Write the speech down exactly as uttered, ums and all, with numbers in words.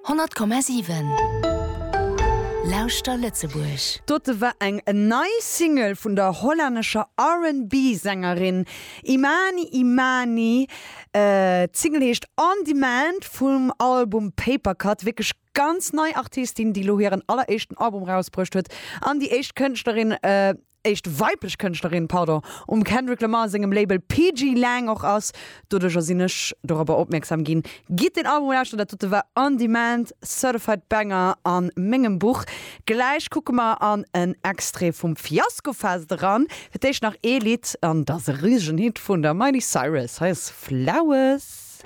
Honnert Komma siwen Lauschter Lëtzebuerg. Dote war eng nei Single vun der hollännescher R and B-Sängerin Imani Imani. Äh, d'Single heescht On Demand vum Album Papercut. Wierklech ganz nei Artistin, déi lo hiren alleréischten Album rausbruecht huet. An déi éischt Kënschtlerin, äh, éischt weiblech Kënschtlerin, pardon, um Kendrick Lamar sengem Label P G Lang och ass. Doduerch sinn ech dorobber opmierksam ginn. Gitt den Album lauschteren, dat dote war On Demand, Certified Banger an mengem Buch. Gläich kucke mer an en Extrait vum Fiasko Fest eran. Fir d'éischt nach ee Lidd an dat ass e risegen Hit vun der Miley Cyrus. Hei ass Flowers.